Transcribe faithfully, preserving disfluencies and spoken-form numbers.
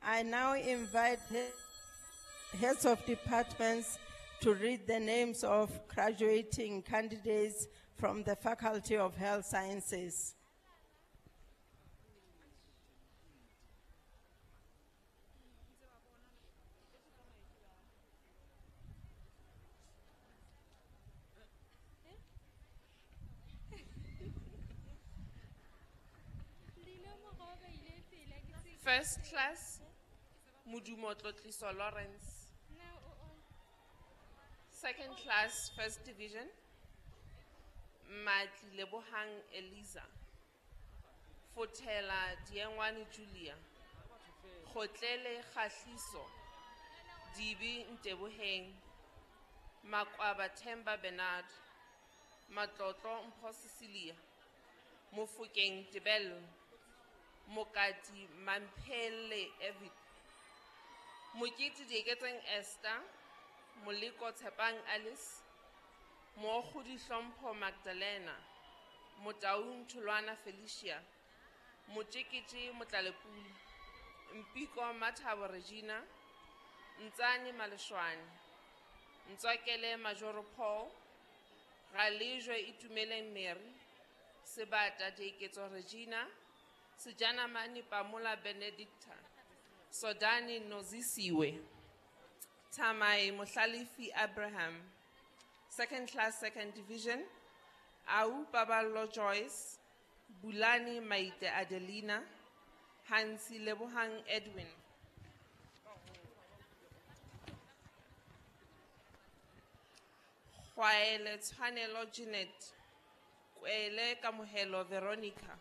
I now invite he-, heads of departments to read the names of graduating candidates from the Faculty of Health Sciences. First class, Modumo Tlotliso Lawrence. Second class, first division, Matli Lebohang Eliza. Fotela Diengwane Julia. Khotlele Khahliso. Dibi Nteboheng. Makwaba Themba Bernard. Matlotlo Mpho Cecilia. Mofokeng Tebello. Mokati Mamphele Evid. Mokete Dieketseng Esther. Moleko Tshepang Alice. Mookgodi Hlompho Magdalena. Motaung Tholwana Felicia. Motjekete Motlalepule. Mpiko Mathabo Regina. Ntsane Maleshwane. Ntswakele Majoro Paul. Ralejwe Itumeleng Mary. Sebata Dieketso Regina. Sejanamane Pamola Benedicta. Sodani Nozisiwe. Tamai Mohlalefi Abraham. Second class, second division. Au Baballo Joyce. Bulani Maite Adelina. Hansi Lebohang Edwin. Khwaele Tshwanelo Jeanette. Kwele Kamohelo Veronica.